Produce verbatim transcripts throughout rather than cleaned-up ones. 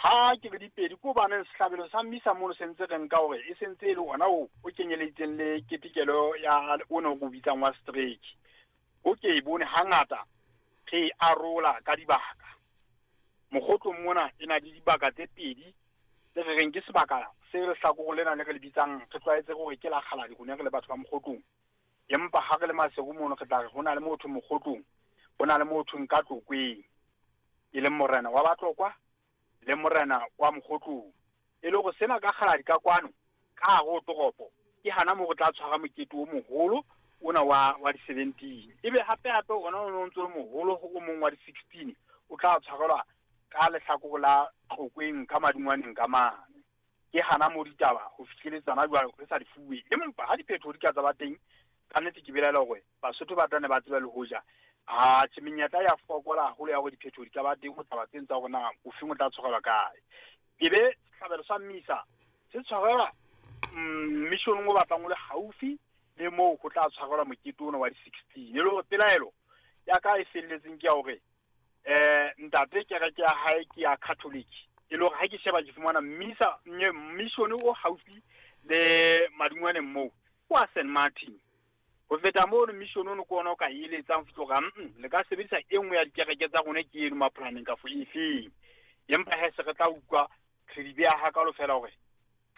Ha ke re dipedi ko baneng sehlabelo sa mmisa mono se ntse re nka hore e sentse e le ona o o kenyeleditseng le ketekelo ya o no go bitsang wa strike. O ke e bone hangata re arola ka dibaka. Mokgotlong mona e na le dibaka tse pedi tse re reng ke sebaka se lehlakoreng lena le re le bitsang re tlwaetse hore ke la Kgaladi rona re le batho ba Mokgotlong. Empa ha re le Maseru mono re tla re ho na le motho Mokgotlong, ho na le motho nka Tlokweng, e leng morena wa Batlokwa le morena wa Mokgotlong. E le hore sena ka Kgaladi ka kwano ka hare ho toropo ke hana moo re tla tshwara mokete o moholo ona wa wa di-seventeen. Ebe hape hape ona o no ntso le moholo o mong wa di-sixteen o tla tshwarelwa ka lehlakore la Tlokweng ka Madingwaneng ka mane. Ke hana moo ditaba ho fihleletsana jwalo re sa di fuwe. Empa ha diphetho di ka tsa ba teng, ka nnete ke belaela hore Basotho ba tla ne ba tseba le hoja a tjhe menyetla ya fokola haholo ya hore diphetho di ka ba teng ho taba tseng tsa hore na o feng o tla tshwarelwa kae. Ebe sehlabelo sa mmisa se tshwarelwa missioneng o batlang o le haufi le moo ho tla tshwarelwa mokete ona wa di-sixteen. E le hore pelaelo ya ka e felletseng ke ya hore eh ntate kereke ya hae ke ya Catholic. E le hore ha ke sheba ke fumana mmisa mission o haufi le Madingwaneng moo kwa Saint Martin. Ho feta mono mission ono ke ona o ka eletsang ho fihla hore le ka sebedisa e nngwe ya dikereke tsa rona ke eno mapolaneng kafo efeng. Empa he se re tla utlwa re di beha hakalo fela hore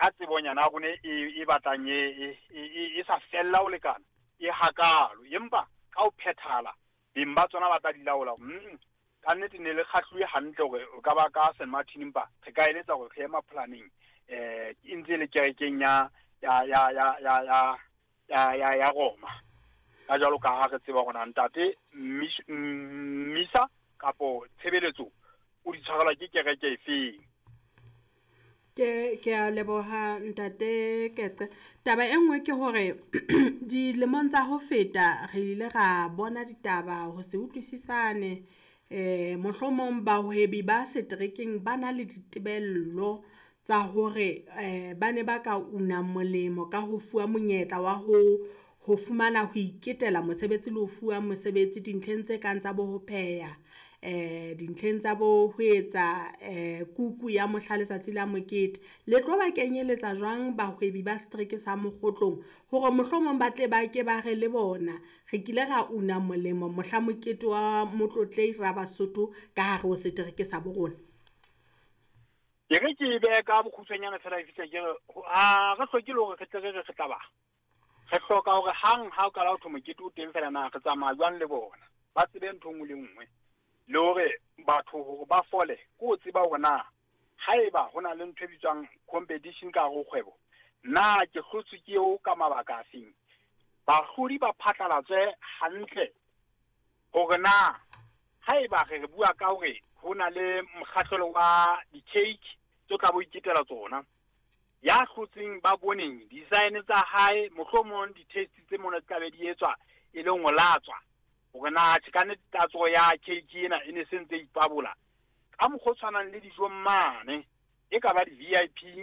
ka tsebonyana ya rona e e batlang e e e sa fella ho lekana e hakalo, empa ka ho phethahala beng ba tsona ba tla di laola. Ka nnete ne le kgahluwe hantle hore o ka ba ka Saint Martin, empa re ka eletsa hore re ye mapolaneng eh e ntse le kerekeng ya ya ya ya ya ya ya ya ya Roma. Ka jwalo ka ha re tseba hore ntate mmisa kapo tshebeletso o di tshwarelwa ke kereke efeng. Ke ke a leboha ntate Ketse. Taba e nngwe ke hore dilemong tsa ho feta re ile ra bona ditaba ho se utlwisisane, eh mohlomong bahwebi ba seterekeng ba na le ditebello tsa hore eh ba ne ba ka una molemo ka ho fuwa monyetla wa ho ho fumana ho iketela mosebetsi le ho fuwa mosebetsi dintlheng tse kang tsa bo ho pheha, eh dintlheng tsa bo ho etsa eh kuku ya mohla letsatsi la mokete. Le tlo ba kenyeletsa jwang bahwebi ba setereke sa Mokgotlong hore mohlomong ba tle ba ke ba re le bona re kile ra una molemo mohla mokete wa Motlotlei ra Basotho ka hare ho setereke sa bo rona? Ke re ke behe ka bokgutshwanyane fela e fihle ke re, ha re hloke le hore re tle re re re tla ba. Re hloka hore hang ha o qala ho thwe mokete o teng fela na re tsamaya jwang le bona. Ba tsebe ntho e nngwe le nngwe. Le hore batho hore ba fole, ke ho tseba hore na haeba ho na le ntho e bitswang competition ka hare ho kgwebo, na ke hlotswe ke eo ka mabaka a feng. Bahlodi ba phatlalatswe hantle hore na haeba re re bua ka hore ho na le mokgahlelo wa di-cake tse tla bo iketela tsona, ya hlotseng ba boneng design tsa hae, mohlomong di-taste tse mona di tla be di etswa e leng ho latswa hore na tjhe ka nnete tatso ya cake ena e ne se ntse ipabola ka mokgwa o tshwanang le dijo mane, e ka ba di-V I P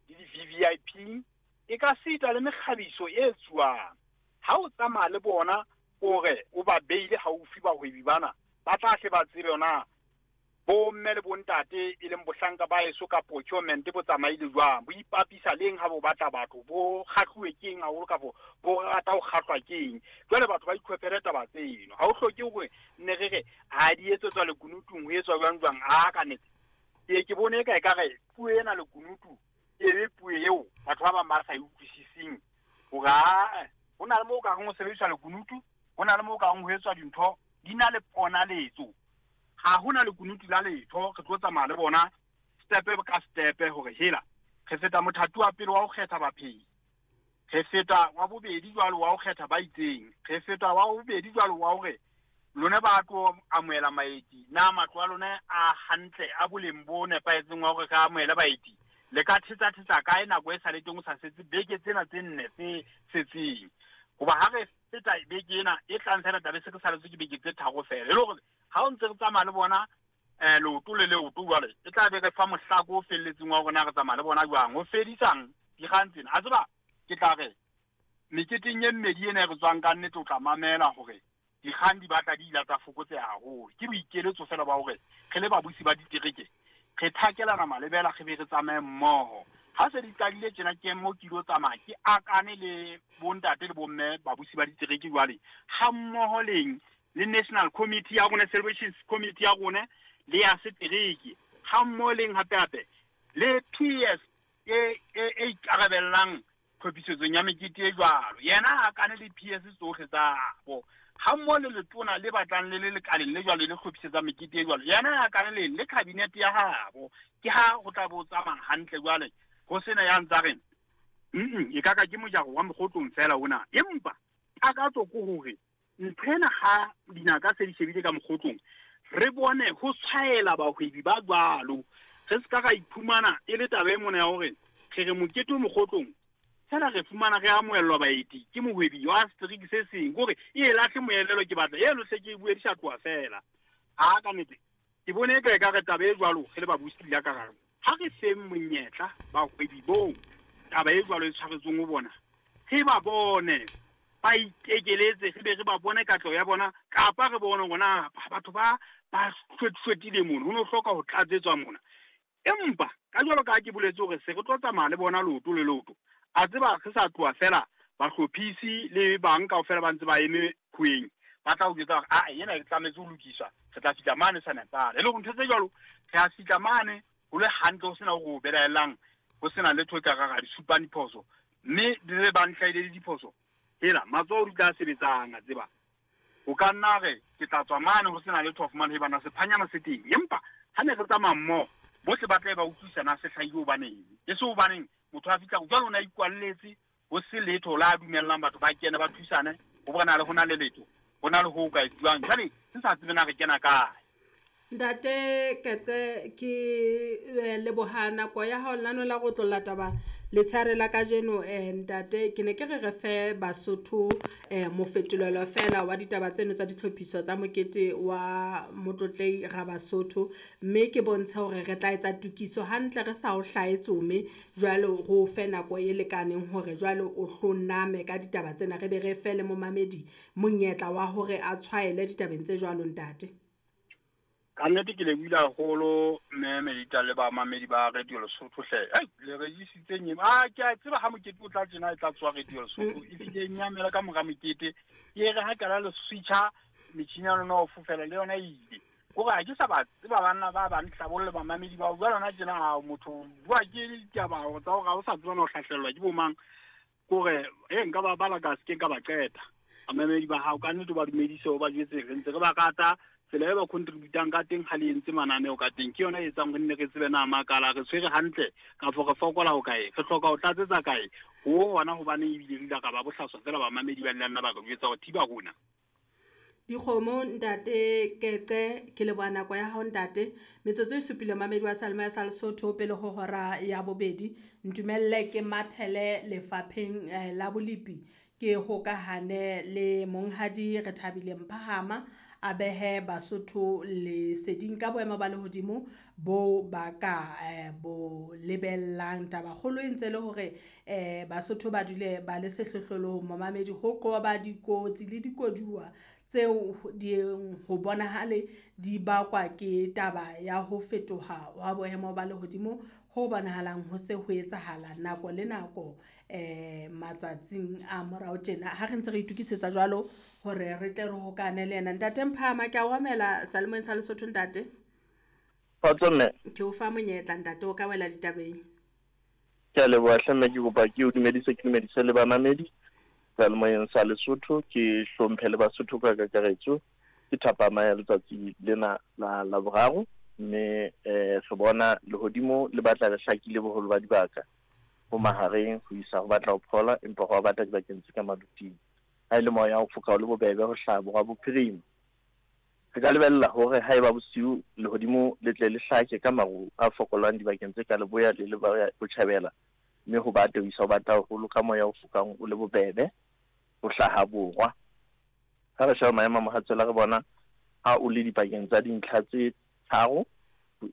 le di-V V I P, e ka sita le mekgabiso e etsuwang. Ha o tsamaya le bona hore o ba beile haufi bahwebi bana, ba tla hle ba tsebe na bomme le bontate e leng bohlanka ba heso ka procurement bo tsamaile jwang, bo ipapisa leng ha bo batla batho, bo kgahluwe ke eng haholo kafo bo rata ho kgahlwa ke eng. Jwale batho ba ikhwepele taba tseno, ha o hloke hore nne re re ha di etsetswa lekunutung ho etswa jwang jwang. A ka nnete ke ke bone eka ekare puo ena lekunutu e be puo eo batho ba bang ba sa e utlwisising hore a ho na le moo ka reng ho sebediswa lekunutu, ho na le moo ka reng ho etswa dintho di na le ponaletso. Ha hona lekunutu la letho, re tlo tsamaya le bona step ka step hore hela re feta mothati wa pele wa ho kgetha baphehi, re feta wa bobedi jwalo wa ho kgetha ba itseng, re feta wa bobedi jwalo wa hore lona ba tlo amohela maeti, na matlo a lona a hantle a boleng bo nepahetseng wa hore re amohele baeti, le ka thetsa thetsa kae nako e sa le teng o sa setse beke tsena tse nne tse setseng. Hoba ha re feta beke ena e tlang fela tla be se re saletswe ke beke tse tharo fela, e le hore ha o ntse re tsamaya le bona eh leoto le leoto jwale e tla be re fa mohlako o felletseng wa rona re tsamaya le bona jwang ho fedisang dikgang tsena. A tseba ke tla re meketeng e mmedi ena e re tswang ka nnete o tla mamela hore dikgang di batla di ila tsa fokotseha haholo. Ke boikeletso fela ba hore re le babusi ba ditereke Re thakelana malebela re be re tsamaye mmoho. Ha se di qadile tjena ke mo ke ilo tsamaya ke akane le bontate le bomme babusi ba ditereke jwale ha mmoho leng le National Committee ya rona, Celebrations Committee ya rona le ya setereke, ha mmoho leng hape hape le P S e e ikarabellang tlhophisetsong ya mekete e jwalo. Yena a akane le P S tsohle tsa bo ha mmoho le letona le batlang le le lekaleng le jwalo le hlophisetsa mekete e jwalo. Yena a akane le le cabinet ya habo. Ke ha ho tla bo tsamaya hantle jwale ho sena ya ntsa reng mm e ka ka ke mojaro wa mokgotlong fela ona. Empa takatso ke hore nthwena ha dinaka se di shebile ka mokgotlong re bone ho tshwaela bahwebi ba jwalo. Re se ka ra iphumana e le taba e mona ya hore re re mokete o mokgotlong fela re fumana re amohellwa baeti ke mohwebi wa setereke se seng hore e lahle moelelo ke batla eno hle ke bue dishatwa fela. Ha ka nnete ke bone e ka re taba e jwalo re le babusi la ka gare ha re feng monyetla bahwebi boo taba e jwalo e tshwaretsweng ho bona re ba bone ba itekeletse re be re ba bone katleho ya bona kapa re bone hore na batho ba ba hlwetile mono ho no hloka ho tlatsetswa mona. Empa ka jwalo ka ha ke boletse hore se re tlo tsamaya le bona leoto le leoto a tseba re sa tloha fela bahlophisi le bang kaofela ba ntse ba eme kgweng ba tla o jwetsa hore a ena e tlametse ho lokiswa re tla fihla mane sa nepala. E le hore ntho tse jwalo re a fihla mane ho le hantle ho sena hore o belaellang ho sena letho e ka ra di supang diphoso mme di re ba ntlhaile le diphoso hela matsoho di tla sebetsang a tseba o ka nna re ke tla tswa mane ho sena letho ho fumana he bana sephanyana se teng. Empa ha ne re tsamaya mmoho bohle ba tla ba utlwisisa na se hlahile hobaneng e se hobaneng motho a fihla jwalo o na ikwalletse ho se letho la dumellang batho ba kene ba thusane ho bona le hona le letho ho na le ho ka etsuwang jwale se sa tsebe na re kena kae. Ntate Kete ke leboha nako ya hao lano la go tlolla taba letshare la kajeno. Eh ntate ke ne ke re re fe Basotho eh mofetolelo fela wa ditaba tseno tsa ditlhophiso tsa mokete wa Motlotlei ra Basotho mme ke bontsha hore re tla etsa tokiso hantle re sa o hlaetsome jwalo go fe nako e lekaneng hore jwalo o hloname ka ditaba tsena re be re fe le momamedi monyetla wa hore a tshwaele ditabeng tse jwalo ntate. Ka nnete ke lebohile haholo mme Melita le bamamedi ba Radio Lesotho hle. Ai le regisitse nyeng. Ah ke a tseba ha mokete o tla tjena e tla tswa Radio Lesotho. E file nyamela ka mora mokete. Ke re ha kala le switcha metjhini ya lona o fofela le yona e ile. Kore ha ke sa ba tseba banna ba bang hlabolle bamamedi ba bua lona tjena ha motho bua ke ditaba tsa hore ha o sa tseba no hlahlellwa ke bo mang. Kore e nka ba bala ka se ke ka ba qeta. Bamamedi ba hao ka nnete ba dumedise o ba jwetse re ntse re ba rata tsela e ba contributang ka teng ha le entse mananeo ka teng ke yona e etsang re nne re tsebe na makala re tshwere hantle kapa re fokola ho kae re hloka ho tlatsetsa kae ho hona hobane ebile re ile ka ba bohlaswa fela bamamedi ba nna ba re jwetsa hore thiba rona dikgomo. Ntate Kete ke leboha nako ya hao ntate. Metsotso e supile mamedi wa Salma ya sa Lesotho pele ho hora ya bobedi. Ntumelle ke mathele lefapheng la bolipi ke hokahane le monghadi re thabile Mphahama a behe Basotho leseding ka boemo ba lehodimo bo ba ka eh, bo lebellang. Taba kgolo e ntse le hore eh, Basotho ba dule ba le sehlohlolong momamedi ho qoba dikotsi le dikoduwa tseo di ho bonahale di bakwa ke taba ya ho fetoha wa boemo ba lehodimo ho bonahalang ho se ho etsahala nako le nako eh matsatsing a morao tjena. Ha re ntse re itukisetsa jwalo hore re tle re hokane le yena. Ntate Mphahama ke a o amela Salemeng sa Lesotho ntate. Kgotso mme. Ke o fa monyetla ntate o ka wela ditabeng. Ke a leboha hle mme ke kopa ke o dumedise ke dumedise le bamamedi Salemeng sa Lesotho ke hlomphe le Basotho ka kakaretso. Ke thapama ya letsatsi lena la Laboraro mme eh re bona lehodimo le batla le hlakile boholo ba dibaka ho mahareng ho isa ho batla ho phola empa ho batla dibakeng tse ka maluting. Ha ile moya o foka o le bobebe ho hlaha borwa bophirima. Re ka lebella hore haeba bosiu lehodimo le tle le hlake ka maru a fokolang dibakeng tse ka leboya le leboya botjhabela mme ho bate ho isa ho batla haholo ka moya o fokang o le bobebe ho hlaha borwa. Ha re sheba maemo a mohatsela re bona ha o le dipakeng tsa dintlha tse tharo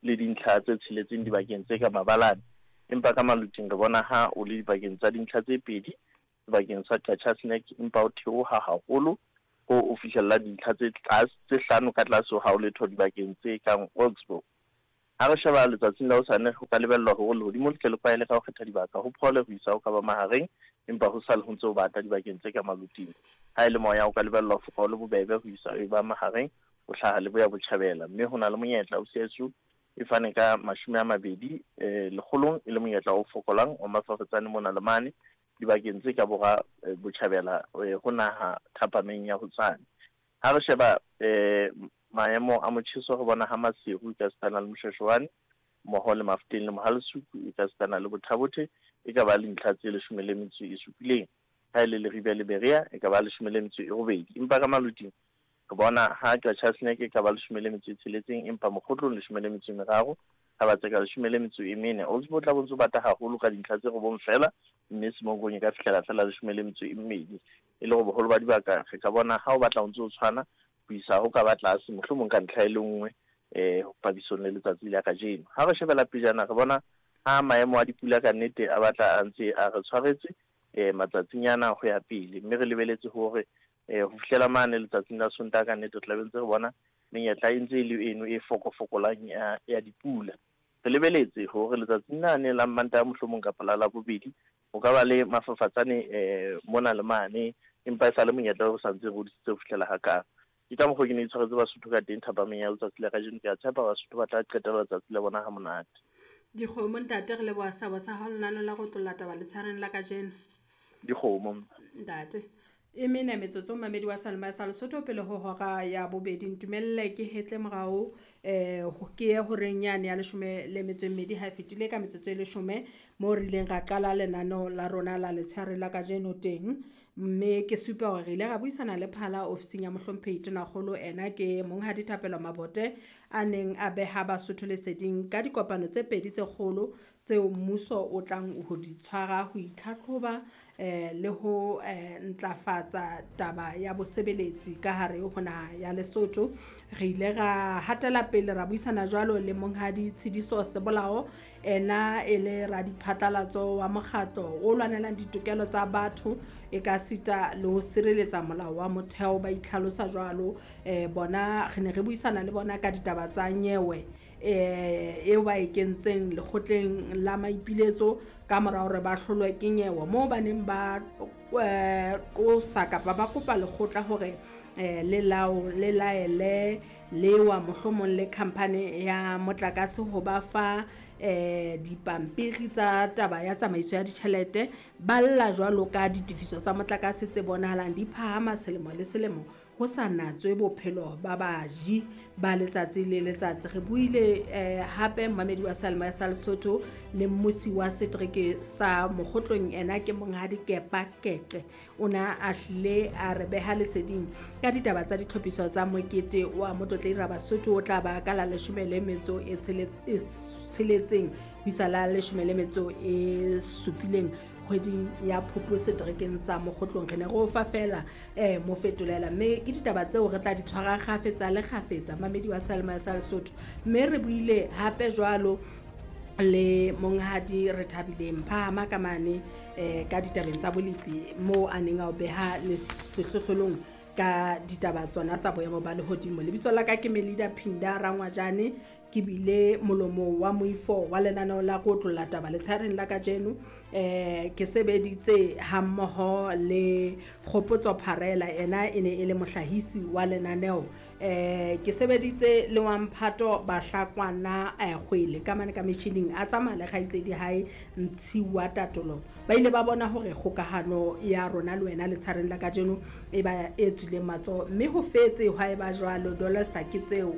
le dintlha tse tsheletseng dibakeng tse ka mabalane empa ka maluting re bona ha o le dipakeng tsa dintlha tse pedi sebakeng sa Qacha's Nek empa o theoha haholo ho o fihlella dintlha tse tlase tse hlano ka tlase ho ha o letho dibakeng tse kang Oxbow. Ha re sheba letsatsing la hosane ho ka lebellwa hore lehodimo le tle le kwaele ka ho kgetha dibaka ho phole ho isa ho ka ba mahareng, empa ho sale ho ntse ho bata dibakeng tse ka maluting. Ha e le moya o ka lebellwa ho foka o le bobebe ho isa e ba mahareng ho hlaha leboya botjhabela, mme ho na le monyetla o C S U e fane ka mashome a mabedi eh lekgolong e le monyetla o fokolang o mafafatsane mona le mane dibakeng tse ka borwa botjhabela ho naha thapameng ya hosane. Ha re sheba eh maemo a motjheso re bona ha Maseru e ka sitana le Moshweshwane mmoho le Mafeteng le Mohalesuku e ka sitana le Bothabothe e ka ba le ntlha tse leshome le metso e supileng. Ha e le Leribe le Berea e ka ba leshome le metso e robedi, empa ka maluting re bona ha Qacha's Nek e ka ba leshome le metso e tsheletseng, empa Mokgotlong leshome le metso e meraro, ha ba tseka leshome le metso e mene. Oldsport tla bontse bata haholo ka dintlha tse robong fela, mme Semonkong e ka fihlela fela leshome le metso e mmedi. E le hore boholo ba dibaka re ka bona ha o batla o ntse o tshwana ho isa ho ka ba tlase mohlomong ka ntlha e le nngwe eh papisong le letsatsi la kajeno. Ha re shebela pejana re bona ha maemo a dipula ka nnete a batla a ntse a re tshwaretse eh matsatsinyana ho ya pele, mme re lebeletse hore eh ho fihlela mane letsatsing la Sontaha ka nnete re tla be ntse re bona menyetla e ntse e le eno e fokofokolang ya ya dipula. Re lebeletse hore letsatsing lane la Mantaha mohlomong kapa la Labobedi ho ka ba le mafafatsane eh mona le mane, empa e sa le monyetla o sa ntse re hodisitse ho fihlela hakana. Ke ka mokgwa ke ne itshwaretse Basotho ka teng thapameng ya letsatsi la kajeno. Ke a tshepa Basotho ba tla qetela letsatsi la bona ha monate. Dikgomo ntate, re leboha seabo sa hao lenaneo la go tlolla taba letshareng la kajeno. Dikgomo ntate. E mene metsotso mamedi wa Seyalemoya sa Lesotho pele ho hora ya bobedi. Ntumelle ke hetle morao eh ke ye horeng yane ya leshome le metso e mmedi ha e fetile ka metsotso e leshome moo re ileng ra qala lenaneo la rona la letshehare la kajeno teng, mme ke supa hore re ile ra buisana le phala ofising ya mohlomphehi Tonakgolo. Ena ke Monghadi Thapelo Mabote a neng a beha Basotho leseding ka dikopano tse pedi tse kgolo tseo mmuso o tlang ho di tshwara ho itlhatlhoba eh le ho eh ntlafatsa taba ya bosebeletsi ka hare ho naha ya Lesotho. Re ile ra hatela pele ra buisana jwalo le Monghadi Tshidiso Sebolao, ena e le radiphatlalatso wa mokgatlo o lwanelang ditokelo tsa batho e ka sita le ho sireletsa molao wa motheo, ba itlhalosa jwalo. Eh bona re ne re buisana le bona ka ditaba tsa nyewe eh eo ba e kentseng lekgotleng la maipiletso ka mora hore ba hlolwe ke nyewe moo ba neng ba qosa kapa ba kopa lekgotla hore eh le lao le laele lewa mohlomong le company ya motlakase ho ba fa eh dipampiri tsa taba ya tsamaiso ya ditjhelete. Ba lla jwalo ka ditefiso tsa motlakase tse bonahalang di phahama selemo le selemo ho sa natswe bophelo ba baji ba letsatsi le letsatsi. Re buile eh hape mmamedi wa Seyalemoya sa Lesotho le mmusi wa setereke sa Mokgotlong, ena ke Monghadi Kepa Keqe. O na a hlile a re beha leseding ka ditaba tsa ditlhophiso tsa mokete wa Motlotlei ra Basotho o tla ba ka la leshome le metso e tsheletseng ho isa la leshome le metso e supileng kgweding ya Phupu seterekeng sa Mokgotlong. Re ne re o fa fela eh mofetolela, mme ke ditaba tseo re tla di tshwara kgafetsa le kgafetsa mamedi wa Seyalemoya sa Lesotho. Mme re buile hape jwalo le Monghadi Rethabile Mphahama ka mane eh ka ditabeng tsa bolepi moo a neng a o beha le sehlohlolong ka ditaba tsona tsa boemo ba lehodimo. Lebitso la ka ke Melida Phinda Rangwajane, ke bile molomo wa moifo wa lenaneo la go tlolla taba letshareng la kajeno. Eh ke sebeditse hammoho le Kgopotso Pharela, ena e ne e le mohlahisi wa lenaneo. Eh ke sebeditse le wa Mphato Bahlakwana eh kgwele ka mane ka metjhining a tsamaya le kgaitsedi hae Ntshiwa Tatolo. Ba ile ba bona hore kgokahano ya rona le wena letshareng la kajeno e ba e tswileng matsoho, mme ho fetse hwa e ba jwalo dolosa ke tseo.